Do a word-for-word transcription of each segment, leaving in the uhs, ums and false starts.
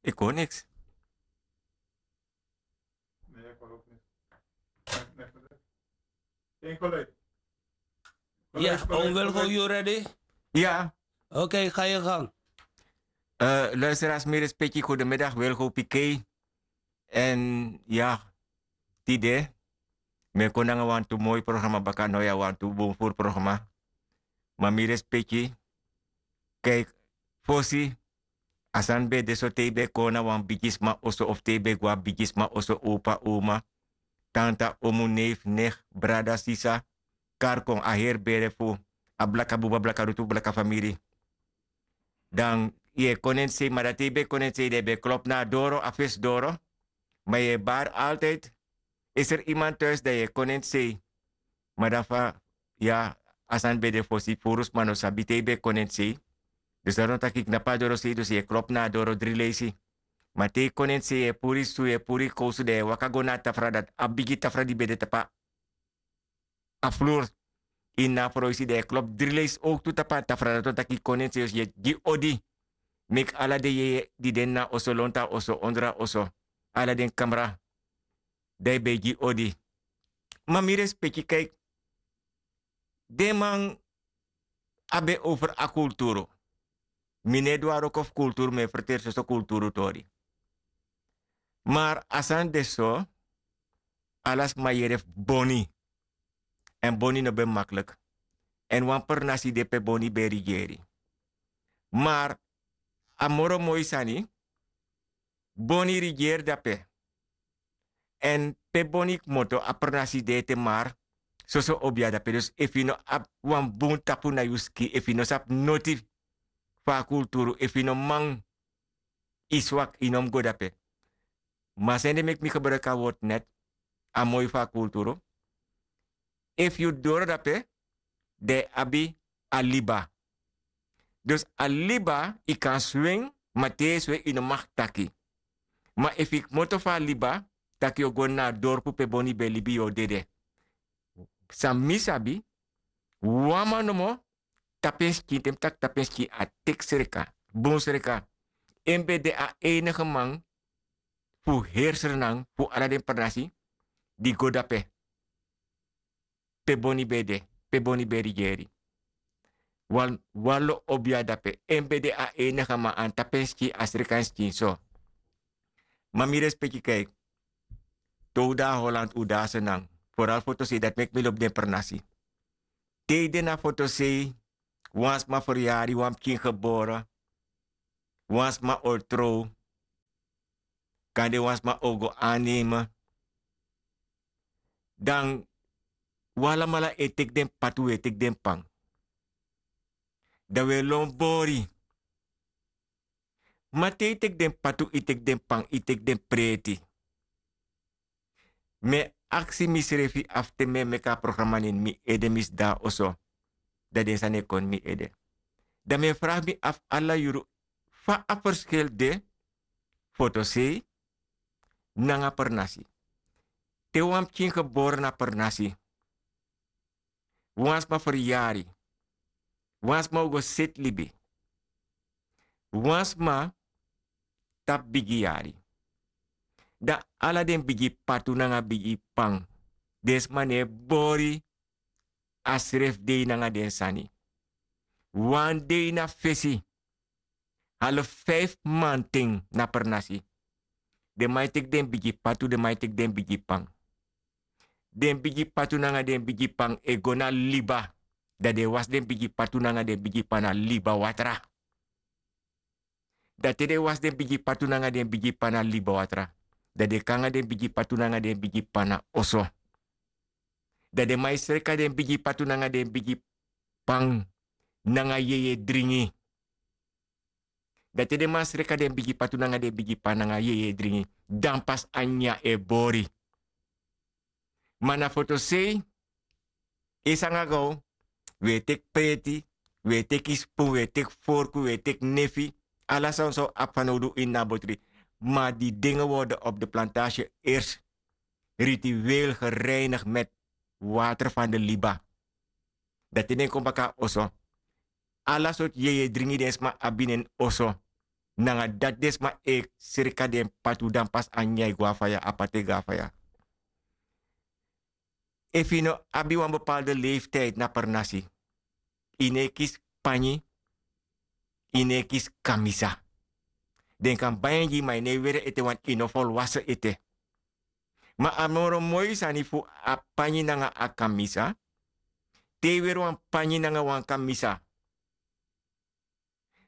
Ik hoor niks. Ya, onwel go you ready? Ya. Oké, ga je gang. Luisteraars, mi respecti, goedemiddag, wel go pikei. En ya, tide mi e kon nanga wantu moi programa baka, no ya, wantu bun furu programa. Ma mi respecti, kijk, fosi a sani ben de so, te yu ben kon na wan bigisma oso of te yu ben go na bigisma oso, opa, oma, tanta, omu, neef, nicht, brada, sisa, kari kon a heri bere fu a blaka buba, blaka rutu, blaka famiri. Dan yu e kon neti sei, ma dan te yu ben kon neti sei dan yu ben klopu na a doro, a fesi doro. Ma yu e bari altijd, is er iemand thuis, dan yu e kon neti sei. Ma dan fa, ya, a sani ben de fosi, furu sma no sabi te yu ben kon neti sei. Dus dati wani taki knapu a doro sei, dus yu e klopu na a doro dri leisi. Ma te yu kon neti sei, yu e puru yu susu, yu e puru yu kowsu, dan yu e waka go na a tafra, dati a bigi tafra di ben de tapu a fluru. Ini a froisi, dan yu e klopu dri leisi owktu tapu a tafra, dati wani taki kon neti sei, yu e gi odi. Meki ala den yeye di de ini a oso, lontu a oso, ondro a oso, ala den kamra, dan yu ben e gi odi. Ma mi respecti, kijk, den man a ben over a kulturu. Mi no e du a wroko fu kulturu, mi e ferteri soso kulturu tori. Maar a sani de so, ala sma yere fu Boni. En Boni no ben makkelijk. En wan pernasi de pe Boni ben rigeri. Maar a moro moi sani, Boni rigeri dape. En pe Boni kmoto, a pernasi de ete, maar soso obia dape. Dus efu yu no abi wan bun tapu na yu skin, efu yu no sabi noti fu a kulturu, efu yu no man, yu swak, yu no mus go dape. Ma sani de meki mi gebruik a word net, a moi fu a kulturu. Efu yu doro dape, dan yu abi a liba. Dus a liba, yu kan swing, ma te yu e swing yu no mag taki. Ma efu yu kmoto fu a liba, taki yu o go na a dorpu pe Boni ben libi, yu o dede. San mi sabi, wan man nomo tapu en skin, te mi taki tapu en skin, a teki sreka, bun sreka. En ben de a enige man fu heri Sranan, fu ala den pernasi di go dape, pe Boni ben de, pe Boni ben rigeri. Wan, wan lo obia dape, en ben de a enige man, a no tapu en skin, a sreka en skin so. Ma mi respecti, kijk, te un de na Holland, un de na Sranan, vooral fotosei, dati meki mi lobi den pernasi. Te yu de na fotosei, wan sma feryari, wan pikin gebore, wan sma o trow, kande wan sma o go aanneme. Dan un alamala e teki den patu, un e teki den pan. Dan un e lon bori. Ma te yu teki den patu, yu teki den pan, yu teki den preti. Mi e aksi misrefi afu te mi e meki a programa na ini mi ede, mi sidon na oso, dan den sani e kon na mi ede. Dan mi e vraag mi afu ala yuru, fa a verschil de fotosei nanga pernasi? Te wan pikin gebore na pernasi, wan sma feryari, wan sma o go seti libi, wan sma tapu bigi yari. Dan ala den bigi patu nanga bigi pan, den sma no e bori a srefi dei nanga den sani. Wan dei na fesi, halo feifi manten na pernasi, den man e teki den bigi patu, den man e teki den bigi pan. Den bigi patu nanga den bigi pan e go na liba. Dan den e wasi den bigi patu nanga den bigi pan na liba watra. Dan te den e wasi den bigi patu nanga den bigi pan na liba watra, dan den e kon nanga den bigi patu nanga den bigi pan na oso. Dan den man e sreka den bigi patu nanga den bigi pan nanga yeye dringi. Dan te den man sreka den bigi patu nanga den bigi pan nanga yeye dringi, dan pasi a nyanyan e bori. Ma na fotosei, yu sanga gaw, wi e teki preti, wi e teki spun, wi e teki forku, wi e teki nefi, ala san un sa abi fanowdu ini a botri. Ma die dingen worden op de plantage eerst ritueel gereinigd met water van de liba. Dan te den kon baka na oso, ala sortu yeye dringi den sma abi na en oso, Nanga dati den sma e sreka den patu, dan pas a nyan e go na faya, a patu e go na faya. Efu yu no abi wan bepaalde leeftiyd na pernasi, yu no e kisi panyi, yu no e kisi kamisa. Den kan bai en gi yu, ma yu no e weri en ete, want yu no folwasen ete. Ma a moro moi sani fu a panyi nanga a kamisa, te yu weri wan panyi nanga wan kamisa,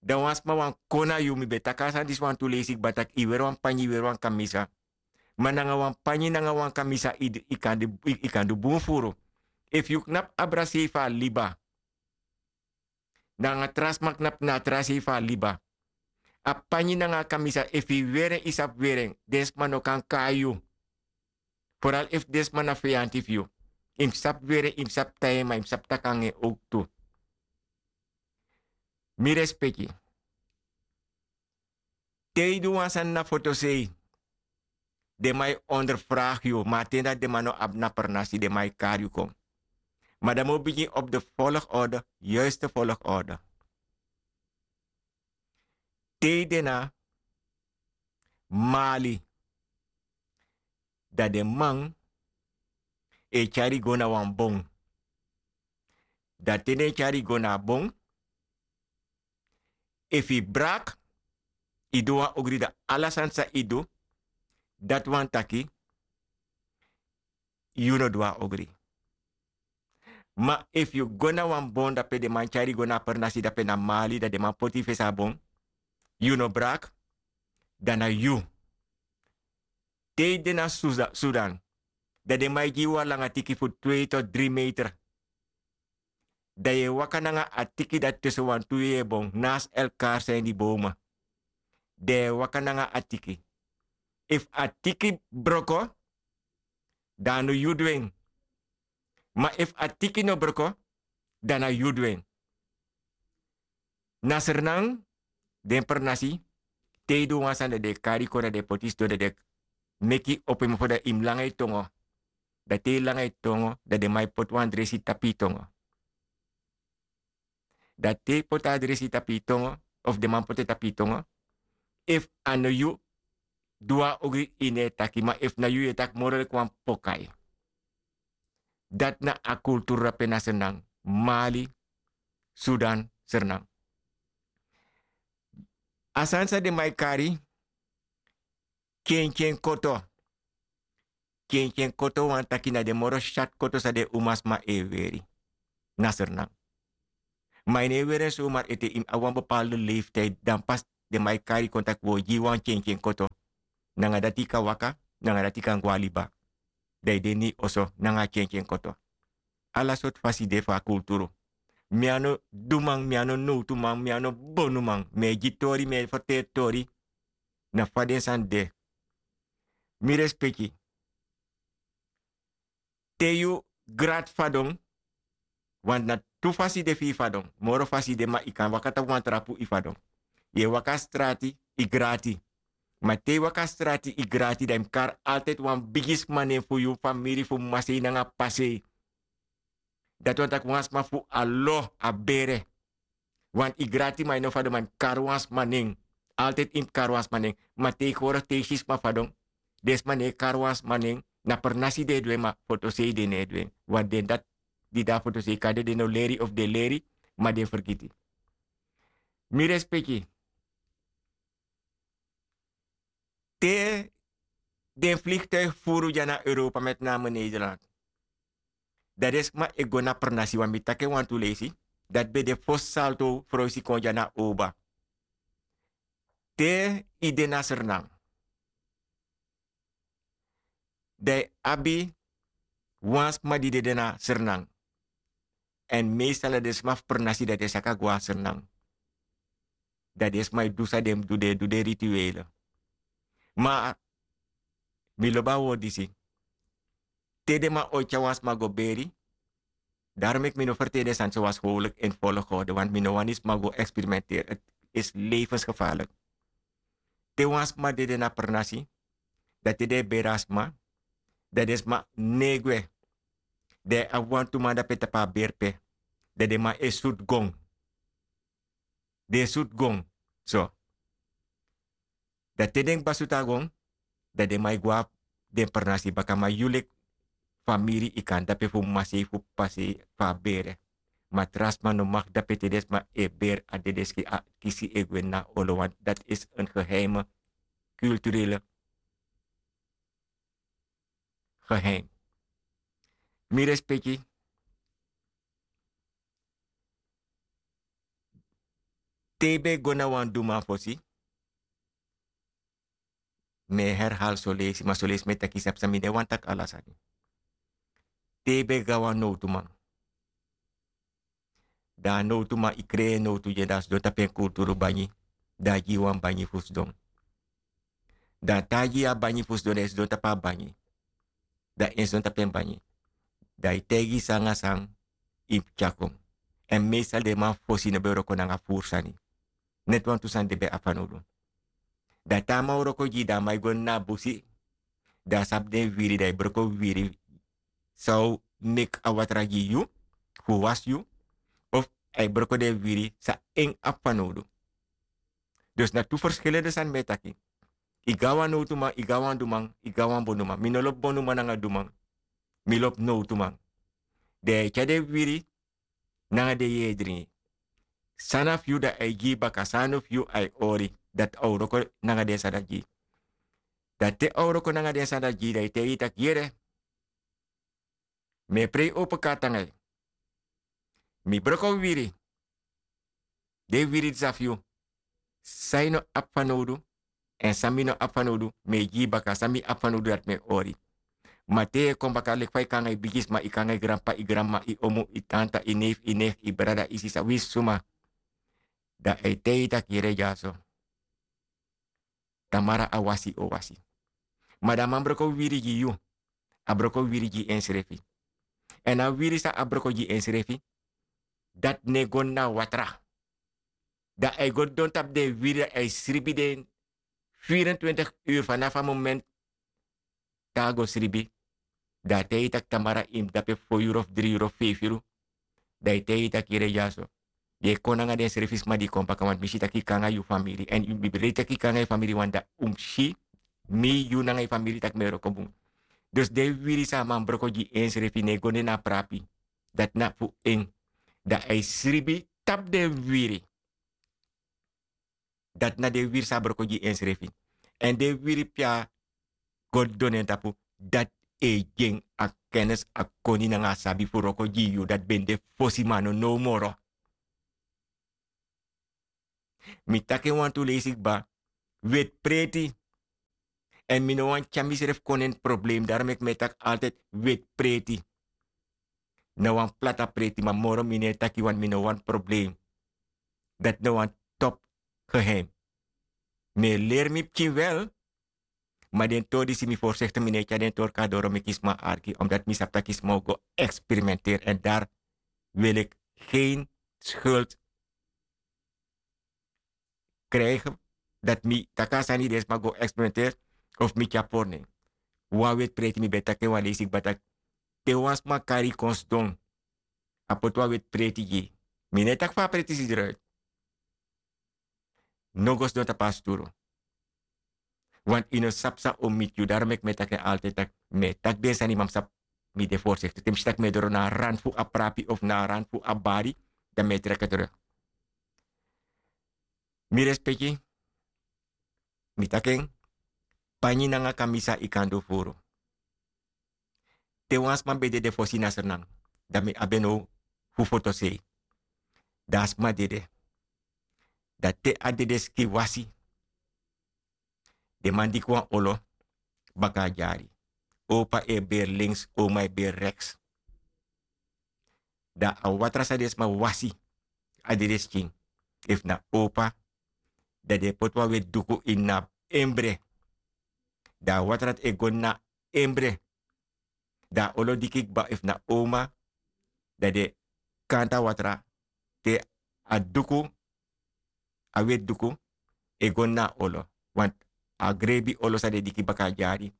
dan wan sma wani kon na yu. Mi ben taki a sani disi wantu leisi kba taki yu weri wan panyi, yu weri wan kamisa. Ma nanga wan panyi nanga wan kamisa yu kan du bun furu. Efu yu knapu abra sei fu a liba, nanga tra sma knapu na a tra sei fu a liba. A panyi nanga a kamisa, efu yu weri en, yu sabi weri en, den sma no kan kai yu. Foral efu den sma na feyanti fu yu. Yu mus sabi weri en, yu mus sabi tai en, ma yu mus sabi taki nanga en owktu. Mi respeki. Te yu du wan sani na fotosei, den man e onderfragi yu, ma a ten dati den man no abi na pernasi, den man e kari yu kon. Ma dan mi o bigin op de volgorde, yuiste volgorde. Te yu de na mali, dan den man e tyari yu go na wan bon. Dan te den e tyari yu go na a bon, efu yu braki, yu du wan ogri, dan ala sani san yu du, dati wani taki yu no du a ogri. Ma efu yu go na wan bon dape, den man tyari yu go na a pernasi dape na mali, dan den man poti yu fesi a bon, yu no braki, dan na yu. Te yu de na Suza-, Sudan, dan den man e gi yu wan langa tiki fu twee tot drie meter. Dan yu e waka nanga a tiki dati tussen wantu wei e bon, naast elkaar zijn die bomen. Dan yu e waka nanga a tiki. Efu a tiki broko, dan a no yu du en. Ma efu a tiki no broko, dan na yu du en. Na Sranan, den pernasi, te yu du wan sani, dan den e kari yu kon, dan den e poti yu sidon, dan den e meki yu opo yu mofo, dan yu mus langa yu tongo. Dan te yu langa yu tongo, dan den man e poti wan dresi tapu yu tongo. Dan te yu poti a dresi tapu yu tongo, of den man poti en tapu yu tongo, efu a no yu du a ogri, yu no e taki, ma efu na yu, yu e taki moro leki wan pokai. Dati na a kulturu dape na Sranan, Mali, Sudan, Sranan. A sani san den man e kari, tyentyeni koto. Tyentyeni koto wani taki na den moro syatu koto san den umasma e weri na Sranan. Ma yu no e weri en somar ete, yu mus abi wan bepaalde leeftijd, dan pas den man e kari yu kon taki wi o gi yu wan tyentyeni koto. Nanga dati yu kan waka, nanga dati yu kan go na liba. Dan yu de ini yu oso nanga a tyentyeni koto. Ala sortu fasi de fu a kulturu. Mi a no duman, mi a no nowtuman, mi a no bonuman, mi e gi tori, mi e ferteri tori. Na fa den sani de. Mi respeki. Te yu grati fadon, want na tu fasi de fu yu fadon. Moro fasi de, ma yu kan waka tapu wan trapu yu fadon. Yu e waka strati, yu grati. Ma te yu waka strati, yu grati, dan yu mus kari altijd wan bigi sma nen fu yu famiri, fu masei nanga pasei. Dati wani taki wan sma fu a lo, a bere. Want yu grati, ma yu no fadon, ma yu mus kari wan sma nen. Altijd yu mus kari wan sma nen. Ma tegenwoordig te yu si sma fadon, den sma no e kari wan sma nen. Na pernasi den e du en, ma fotosei den no e du en. Want den dati di de na fotosei, kande den no leri of den leri, ma den fergiti. Mi respeki. Te den vliegtuig furu dya na Europa, met name Nederland, dan den sma e go na pernasi, want mi taki en wantu leisi, dati ben de fosi Salto froisi kon dya na Oba. Te yu de na Sranan, dan yu abi wan sma di dede na Sranan. Èn meestal na den sma fu pernasi, dan den saka go na Sranan. Dan den sma e du san den mus du, den e du den rituele. Ma mi lobi a word disi. Te den man o tyari wan sma go beri, daarom meki mi no ferteri den sani so wan scholik in volgorde, want mi no wani sma go experimenteri. Het is levensgevaarlijk. Te wan sma dede na pernasi, dan te den e beri a sma, dan den sma no e gwe. Dan yu abi wantu man dape tapu a beri pe, dan den man e sutu gon. Den e sutu gon. So. Dan te den kba sutu a gon, dan den man e go na den pernasi baka. Ma yu leki famiri, yu kan dape fu masei fu pasei fu a bere. Ma tra sma no mag dape te den sma e bere a dedeski, a kisi e gwe na olo, want dat is een geheime culturele geheim. Mi respeki. Te yu ben go na wan duman fosi, mi e herhal soleisi, ma soleisi mi e taki sabi san mi no e wani taki ala sani. Te yu ben go na wan nowtuman, dan a nowtuman, yu krei en nowtu gi en, dan a sidon tapu en kulturu banyi, dan a gi yu wan banyi fu sidon. Dan te a gi yu a banyi fu sidon, dan yu sidon tapu a banyi, dan en sidon tapu en banyi, dan yu taigi san nanga san yu mus tyari kon. Èn meestal den man fosi no ben wroko nanga furu sani. Neti wantu sani den ben abi fanowdu. Dan te a man wroko gi yu, dan a man e go ini a busi, dan a sabi den wiwiri, dan a e broko wiwiri san o meki a watra gi yu fu wasi yu, of a e broko den wiwiri san en abi fanowdu. Dus na tu verschillende sani mi e taki. Yu go na wan nowtuman, yu go na wan duman, yu go na wan bonuman. Mi no lobi bonuman nanga duman. Mi lobi nowtuman. Den e tyari den wiwiri nanga den yeye dringi. San na fu yu, dan a e gi yu baka, san no fu yu, a e hori. Dati a o wroko nanga den sani dati gi yu. Dan te a o wroko nanga den sani dati gi yu, dan a e taigi yu taki yere, mi e prei opo karti nanga yu. Mi broko wiwiri. Den wiwiri disi na fu yu. San yu no abi fanowdu, èn san mi no abi fanowdu, mi e gi yu baka. San mi abi fanowdu, dati mi e hori. Ma te yu e kon baka leki fa yu kon nanga yu bigisma, yu kon nanga yu granpapa, yu granmama, yu omu, yu tanta, yu neef, yu nicht, yu brada, yu sisa, winsi suma, dan a e taigi yu taki yere dyaso, tamara a wasi o wasi. Ma dan a man broko wiwiri gi yu, a broko wiwiri gi ensrefi. Èn a wiwiri san a broko gi ensrefi, dati no e go na watra. Dan a e go didon tapu den wiwiri, dan a e sribi den vierentwintig uru, fanafu a moment te a go sribi. Dan a e taigi yu taki tamara yu mus dape fo yuru of dri yuru of feifi yuru. Dan a e taigi yu taki yere dyaso, yu e kon nanga den srefi sma di kon baka, want mi si taki yu kon nanga yu famiri. Èn mi ben lei taki yu kon nanga yu famiri, want dan un mus si mi, yu nanga yu famiri, taki mi e wroko bun. Dus den wiwiri san a man broko gi ensrefi no e go na a prapi. Dati na fu en. Dan a e sribi tapu den wiwiri. Dati na den wiwiri san a broko gi ensrefi. Èn den wiwiri pe a go didon na en tapu, dati e gi en a kennis, a koni nanga a sabi fu wroko gi yu, dati ben de fosi, ma a no now moro. Mi taki en wantu leisi kba, weti preti. Èn mi no wani tyari misrefi kon na ini problem, daarom meki mi e taki altijd weti preti. Na wan plata preti, ma moro mi no e taki, want mi no wani problem. Dati na wan top geheim. Mi e leri mi pikin wel, ma den tori disi mi voorzichtig, mi no e tyari den tori kon na doro meki sma arki, omdat mi sabi taki sma o go experimenteren. En daar wil ik geen schuld krijgen, dat mi taki a sani, den sma go experimenteren of mi tyari pori na en. Wan weti preti, mi ben taki en wan leisi kba taki, te wan sma kari yu kon sidon, a poti wan weti preti gi yu. Mi no e taki fa a preti si eruit. No go sidon tapu a sturu. Want yu no sabi san o miti yu. Daarom meki mi e taki en altijd taki mi e taki den sani, ma mi sabi, mi de voorzichtig. Te mi si taki mi e doro na a rand fu a prapi of na a rand fu a bari, dan mi e trek en terug. Mi respeki, mi taki en, panyi nanga kamisa yu kan du furu. Te wan sma ben dede fosi na Sranan, dan mi abi en now fu fotosei. Dan a sma dede. Dan te a dedeskin wasi, den man diki wan olo baka a dyari. Opa e beri links, oma e beri rechts. Dan a watra san den sma wasi a dedeskin, efu na opa, dan den e poti wan weti duku ini a embre. Dan a watra dati e go na embre. Dan a olo diki kba, efu na oma, dan den kanta watra te a duku, a weti duku, e go na a olo. Want a grebi olo san den diki baka a dyari,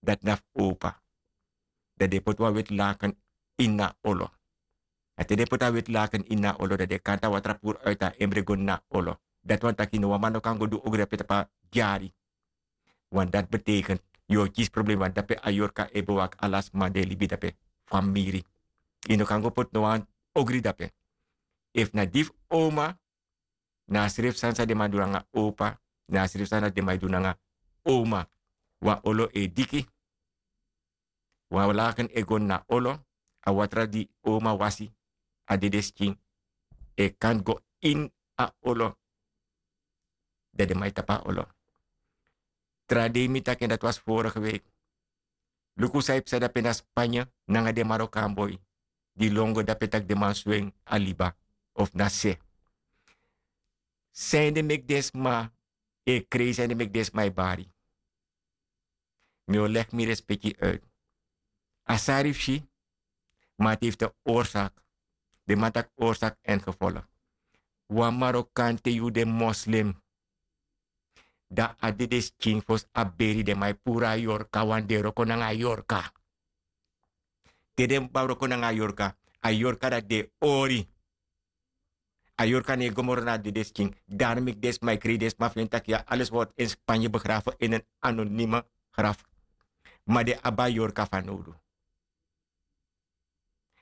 dati na fu opa. Dan den e poti wan weti laken ini a olo. A te den e poti a weti laken ini a olo, dan den e kanta watra puru uit a embre go na a olo. Dati wani taki no wan man no kan go du ogri dape tapu a dyari. Want dati betekent yu o kisi problema dape a yorka e bewaki ala sma di e libi dape. Famiri. Yu no kan go poti no wan ogri dape. Efu na di fu oma, na a srefi sani san den man du nanga opa, na a srefi sani san den man e du nanga oma. Wan olo e diki, wan laken e go na olo, a watra di oma wasi, a dede skin e kan go ini a olo. Dan den man e tapu a olo. Tra dei mi taki en dati wasi vorige week. Luku san e psa dape na spanya nanga den marokan boi di lon go dape tak' den man swen a liba of na se. San ede meki den sma e krei, san ede meki den sma e bari? Mi o legi mi respeki uit. A sari fu si, ma a teifi ten oorsak. Den man taki oorsak en gevolg. Wan marokan te yu de moslim, dan a dede skin fosi a beri den man e puru a yorka, wan den wroko nanga a yorka. Te den man wroko nanga a yorka, a yorka dati den e ori. A yorka no e go moro na a dede skin. Dari meki den sma e krei, den sma feni taki ya, alles word in spanye begraven in en anonime graf. Ma den abi a yorka fanowdu.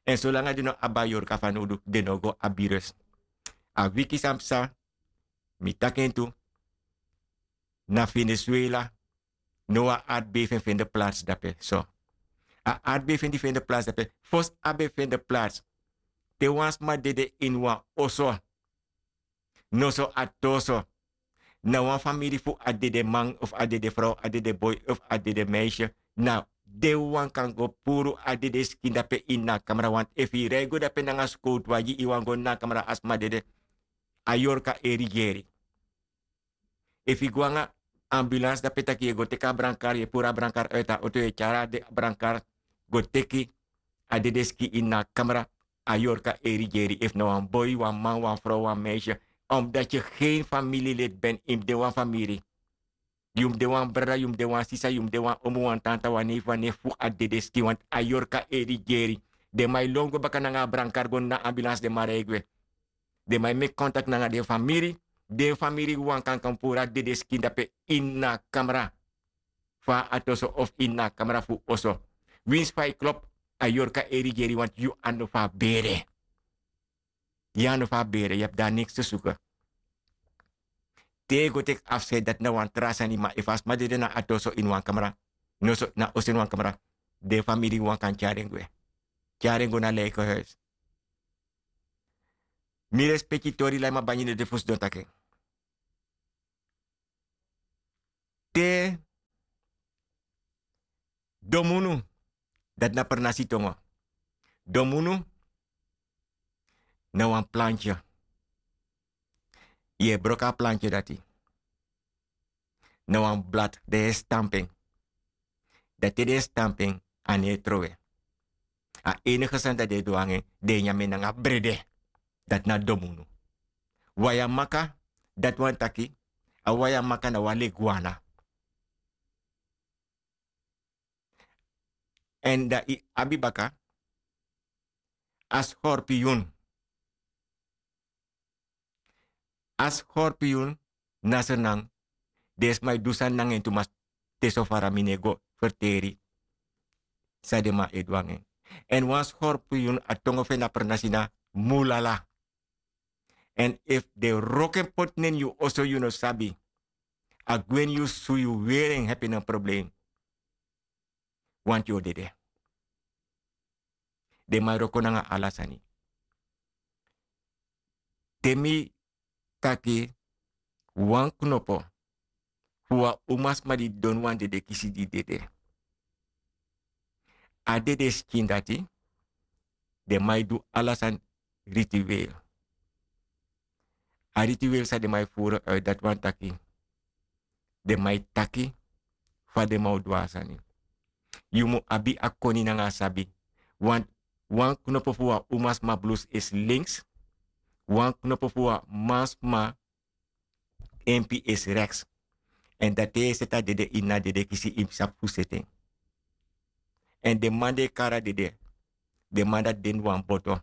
Èn solanga den no abi a yorka fanowdu, den no go abi rus. A wiki san psa, mi taki en tu, na Venezuela, no wan artbei fu en fende plats dape so. A artbei fu en di fende plats dape, fosi a ben fende plats, te wan sma dede ini wan oso, noso a toso, na wan famiri fu a dede man of a dede frow, a dede boi of a dede meisye, na den wan kan go puru a dede skin dape ini a kamera. Want efu yu rei go dape nanga skowtu wagi, yu wani go ini a kamera, a sma dede, a yorka e rigeri. Efu yu go nanga ambulans dape tak' yu e go teki a brankar, yu e puru a brankar uit a oto, yu e tyari a brankar go teki a dede skin ini a kamera, a yorka e rigeri. Efu na wan boi, wan man, wan frow, wan meisye, omdati yu gen famiri leti ben, yu mus de wan famiri. Yu mus de wan brada, yu mus de wan sisa, yu mus de wan omu, wan tanta, wan neifi, wan nefu fu a dede skin, want a yorka e rigeri. Den man e lon go baka nanga a brankar go na ambulans, den man rei gwe. Den man e meki kontakti nanga den famiri. Den famiri wan kan kon puru a dede skin dape ini a kamera fu a toso of ini a kamera fu oso. Winsi fa yu klop, a yorka e rigeri, want yu a no fu a bere. Yu a no fu a bere, yu abi de a niks te suku. Te yu go teki afscheid, dati na wan tra sani, ma efu a sma dede na a toso ini wan kamera, noso na oso ini wan kamera, den famiri wan kan tyari en gwe. Tyari en go na lijkenhuis. Mi respeki tori, lai ma bangi no de fu sidon taki en. Te domunu, dati na pernasi tongo. Domunu na wan plantye. Yu e broko a plantye dati. Na wan blad, den e stampu en. Dan te den e stampu en, a no e trowe. A enige sani dati den e du nanga en, den e nyan en nanga brede. Dati na domunu. Wayamaka, dati wani taki, a wayamaka na wan leguana. Èn dan yu abi baka a skorpiyun. A skorpiyun na Sranan, den sma e du sani nanga en tu, ma te so fara mi no e go ferteri san den man e du nanga en. Èn wan skorpiyun, a tongo fu en na pernasi na mulala. Èn efu den wroko en poti na ini yu oso, yu no sabi, a gwe ini yu su, yu weri en, hepi na problem. Wanti yu o dede. Den man e wroko nanga ala sani. Te mi taki wan knopo fu wan umasma di didon, wan dede kisi di dede. A dede skin dati, den man e du ala sani ritueel. A ritueel san den man e furu uit, dati wani taki den man e taki fa den man o du a sani. Yu mu abi a koni nanga a sabi. Wan, wan knopo fu wan umasma blus is links, wan knopo fu wan mansma empi is rechts. Èn dan te yu e seti a dede ini a dede kisi, yu mus sabi fu seti en. Èn den man di e kari a dede, den man dati de ini wan boto.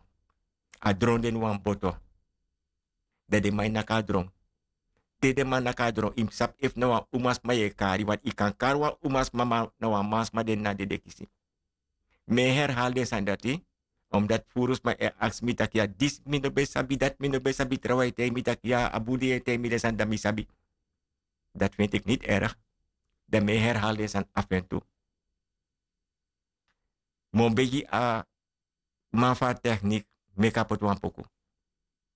A dron de ini wan boto. Dan den man e naki a dron. Te den man naki a dron yu mus sabi efu na wan umasma yu e kari, want yu kan kari wan umasma ma na wan mansma den na dede kisi. Mi e herhali den sani dati, omdat furu sma e aksi mi taki ya disi mi no ben sabi, dati mi no ben sabi, trawan e taigi mi taki ya a bun di yu e taigi mi den sani dan mi sabi. Dati findi iki niti erg. Dan mi e herhali den sani afentu. Mi o begi a man fu a teknik meki a poti wan poku.